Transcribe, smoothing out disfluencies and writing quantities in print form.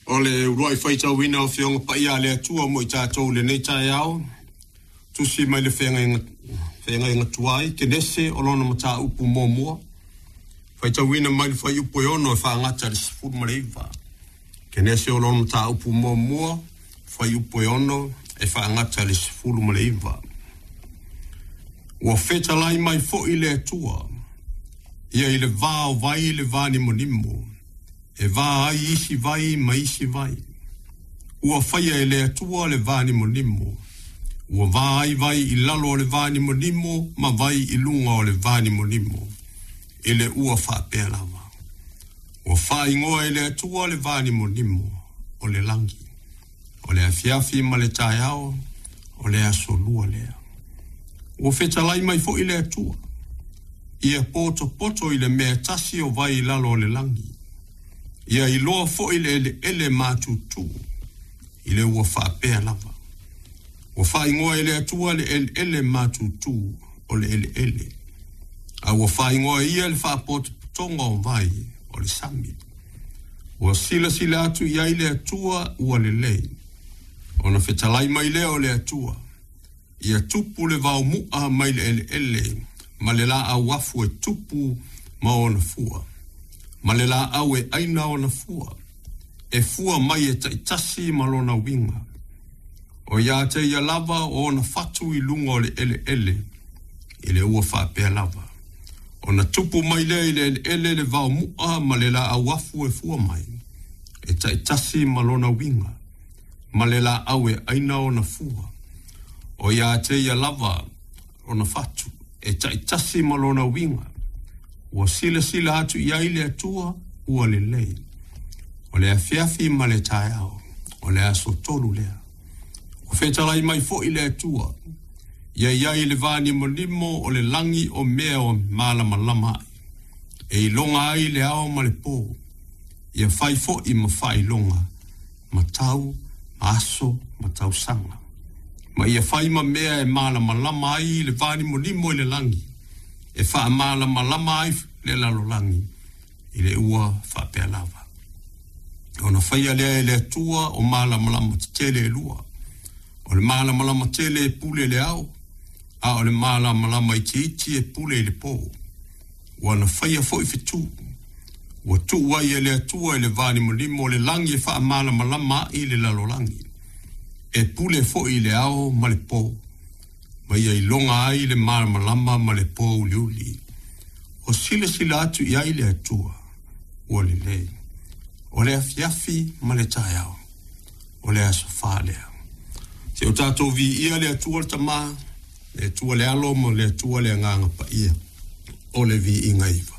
O le uluai faitauina o Afioga Paia a le Atua mo i tatou i lenei taeao, tusi mai le Feagaiga, Feagaiga Tuai, Kenese o lona mataupu muamua, faitauina mai le fuaiupu e 6 e faagata i le 19. Kenese o lona mataupu muamua, fuaiupu e 6 e faagata i le 19. Ua fetalai mai foi le Atua, ia i le va o vai le vanimonimo, e va ai isi vai ma isi vai. Ua faia e le Atua le vanimonimo, ua va ai vai i lalo o le vanimonimo ma vai i luga o le vanimonimo, i le ua faapea lava. Ua faaigoa e le Atua le vanimonimo o le lagi. O le afiafi ma le taeao, o le aso lua lea. Ua fetalai mai foi le Atua, ia potopoto i le mea tasi o vai i lalo o le lagi, ia iloa foi le eleele matutu, i le ua faapea lava. Ua faaigoa e le Atua le eleele matutu o le eleele, a ua faaigoa e ia le faapotopotoga o vai o le sami. Ua silasila atu i ai le Atua ua lelei, ona fetalai mai lea o le Atua, ia tupu le vaomu'a mai le eleele ma le laau afu e tupu ma ona fua, ma le laau e aina ona fua, e fua mai e taitasi ma lona uiga. O ia te ia lava o ona fatu i luga o le eleele, i le ua faapea lava. Ona tupu mai lea i le eleele le vaomu'a ma le laau afu e fua mai, e taitasi ma lona uiga, ma le laau e aina ona fua. O ia te ia lava ona fatu, e taitasi ma lona uiga. Ua silasila atu i ai le Atua, ua lelei. O le afiafi ma le taeao, o le aso tolu lea. Ua fetalai mai foi le Atua, ia i ai le vanimonimo o le lagi o mea o malamalama ai, e iloga ai le ao ma le po, ia fai foi ma faailoga, ma tau, ma aso, ma tausaga. Ma ia fai ma mea e malamalama ai le vanimonimo i le lagi, e faamalamalama ai le lalolagi i le ua faapea lava. Ona faia lea e le Atua o malamalama tetele e lua, o le malamalama tele e pule i le ao, a o le malamalama itiiti e pule i le po. Ua na faia foi fetu, ua tuu ai e le Atua i le vanimonimo o le lagi e faamalamalama ai le lalolagi, e pule foi i le ao ma le po, ma ia iloga ai le malamalama ma le po uliuli. Ua silasila atu i ai le Atua, ua lelei. O le afiafi ma le taeao, o le aso fa lea. Se o tatou viia le Atua le Tama, le Atua le Alo ma le Atua le Agaga Paia, o le viiga iva.